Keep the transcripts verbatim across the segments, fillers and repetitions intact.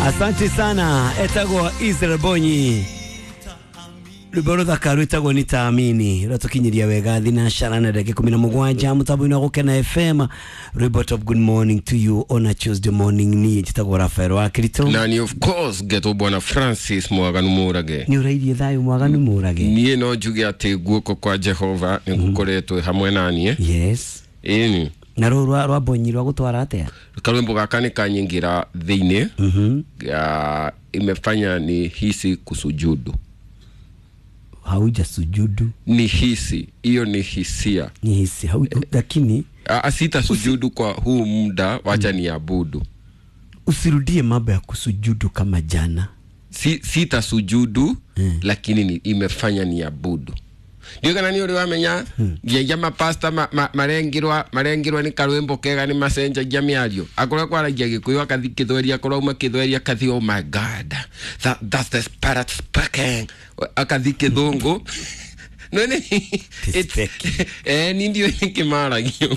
Asante sana, etagwo Israel Bonyi, rwimbo ruthaka rwitagwo Nitaamini, rwatukinyiria wega thinacara na ndagika ikumi na mugwanja mutambo-inĩ wa Gukena F M. Rwimbo top good morning to you on a Tuesday morning. Ni njitagwo Rafael wa Kirito na ni of course geto bwana Francis Mwaganu Murage. Ni urairie thayo Mwaganu Murage? Niĩ no njuge atĩ guoko kwa Jehova nĩ gukoretwo hamwe na niĩ. Yes. Ĩni na rũrũ rwa rwa Bonyi rwa gũtwara atĩa? Karwimbo gaka nĩ kanyingira thĩinĩ. Mhm. Ya, imefanya ni hisi kusujudu. Hauja sujudu? Ni hisi, hiyo ni hisia. Ni hisi, hau, lakini A, sita sujudu kwa huu muda, wacha ni abudu. Usirudie mambo ya kusujudu kama jana. Si, sita sujudu, hmm. Lakini ni, imefanya ni abudu. Ndiyo kana ni uri wamenya, hmm. Nginya mapasta ma, ma, marengirwa, marengirwa ni karwimbo kega ni macenjagia mĩario. Akorwo kwaragia Gĩkũyũ akathi Gĩthweri, akorwo auma Gĩthweri akathi oh my God, that, that's the spirit speaking. Akathi Gĩthũngũ. No ni eh ni ndio nikimaragia.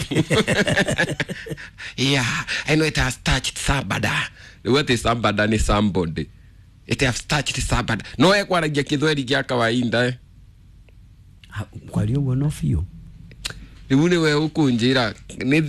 Yeah, I know it has touched somebody. What is somebody ni somebody. It has touched somebody. No ekwaragia Gĩthweri gĩa kawaida eh. Kwaria ũguo no biũ. Rĩu nĩwe ũkũnjĩra nĩ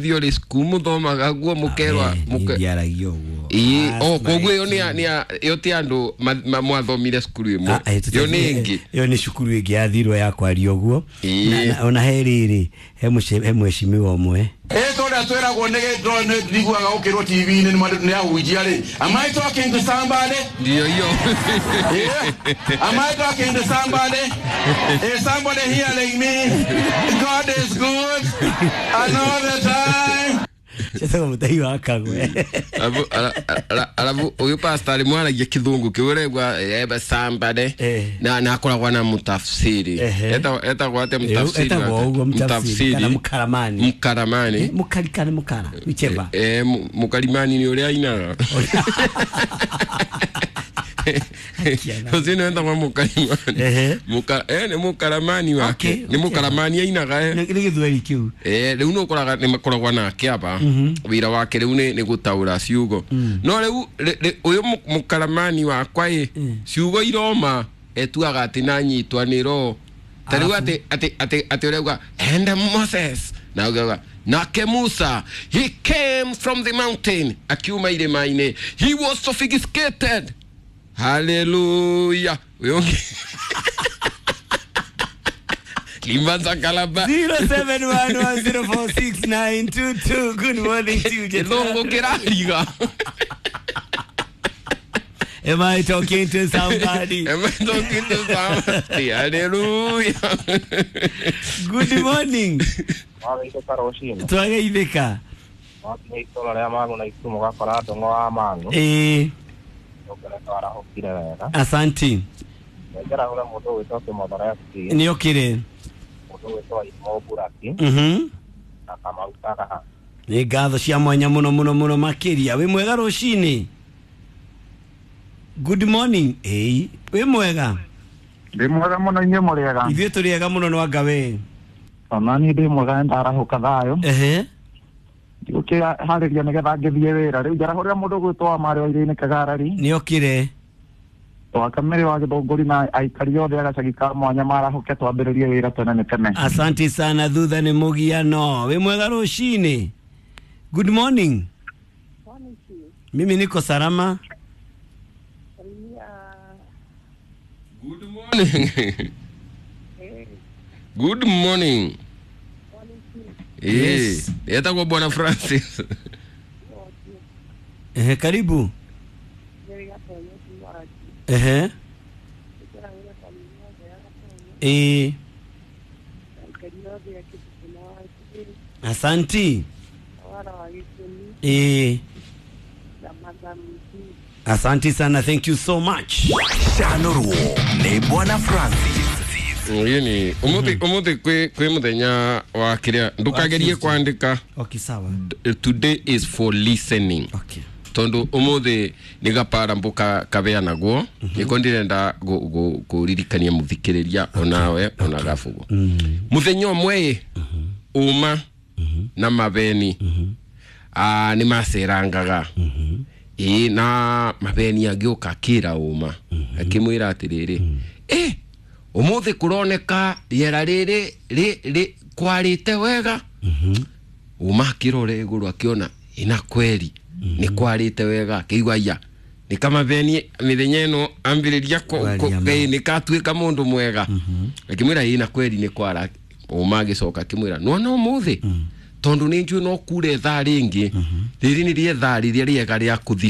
thio rĩ cukuru mũthomaga guo mũkerwa mũke ũguo. Ĩĩ, o koguo ĩyo nĩ nĩ ĩyo ti andũ mwathomire cukuru ĩmwe. Ĩyo nĩ ĩngĩ. Ĩyo nĩ cukuru ĩngĩ yathirwo ya kwaria ũguo. Na ona he rĩrĩ he he mheshimiwa ũmwe. Ĩ tondũ twĩragwo nĩ nĩ ndiguaga ũkĩrwo T V-inĩ nĩ ahunjia rĩ. Am I talking to somebody? Ndio hiyo. Am I talking to somebody? Is somebody hearing me? God is good and all the time. Sasa mutahi wa kagwe. Alafu alafu uyu pastor mwaragia kithungu kiuregwa eba somebody na na akoragwo na mutafsiri. Eta etagwo ate mutafsiri. Etagwo uguo mutafsiri kana mukaramani. Mukaramani. Mukarikana mukara. Wicheba. Eh mukarimani ni uria ainaga. Ucio enda kwa mukarimani. Muka eh ni mukaramani wake. Ni mukaramani ainaga eh. Ni gĩthweri kĩu. Eh rĩu no ũkoraga nĩ makoragwo nake aba. Wĩra wake rĩu nĩ gũtaũra ciugo. No rĩu ũyũ mukaramani wakwa ĩ ciugo iroma etuaga atĩ nanyitwa nĩ roho. Ta rĩu atĩ atĩ atĩ atĩ ũrauga and Moses na ũgauga nake Musa he came from the mountain akiuma irĩma-inĩ he was sophisticated. Hallelujah. Limbanza kalaba. zero seven one one zero four six nine two two. Good morning to you. Gĩthũngũ kĩrariga. Am I talking to somebody? Am I talking to somebody? Hallelujah. Good morning. Twageithĩka. Eh. Asante. Ni okire. Mhm. Ni ngatho cia mwanya muno muno muno makiria. Wi mwega rucini? Good morning. Eh, wi mwega? Ndi mwega muno inyuĩ mũrĩega. Ithuĩ tũrĩega muno no anga we. Ona niĩ ndĩ mwega ndarahũka thayũ. Ehe. Ngĩharĩria nĩgetha ngĩthiĩ wĩra. Rĩu njarahũrĩra mũndũ ũgwĩtwo wa Marĩ wa Iria-inĩ Kagarari. Nĩ okire. Wa Kamere wa Gĩthũngũri na aikari othe a gacagi ka mwanya marahũke twambĩrĩrie wĩra tene nĩ tene. Asante sana thutha nĩ mũgiano. Wĩ mwega rũcinĩ? Good morning. Mimi niko salama. Good morning. Good morning. Yes. Etagwo Bwana Francis. Eh, karibu. Eh. Eh. Asanti. Eh. Asante sana, thank you so much. Shanoruo ni Bwana Francis. Yini umuthi umuthi kwi kwi muthenya wa kiria ndukagerie kwandika. Okay, sawa. Today is for listening. Okay. Tondu umuthi ni gapara mbuka kabeanagwo niko ndirenda kuririkania muthikiriria onawe ona gabugo. Muthenya umwe uma na mabeni ah ni macerangaga. Ĩĩ, na mabeni agĩũka akĩra ũma, akĩmwĩra atĩrĩrĩ, ĩ ũmũthĩ kũroneka rĩera rĩrĩ rĩ rĩ kwarĩte wega. Ũma akĩrora igũrũ, akĩona ĩna kweri nĩ kwarĩte wega, akĩigua iya nĩ kamabeni mĩthenya ĩno ambĩrĩria kũ- Kwaria kũ- ma. ĩ, nĩ katuĩka mũndũ mwega. Akĩmwĩra ĩ na kweri nĩ kwara. Ũma agĩcoka akĩmwĩra, nona ũmũthĩ tondũ nĩ njũĩ no kure thaa rĩngĩ, rĩrĩ nĩ rĩethaa rĩrĩa rĩega rĩa kũthi.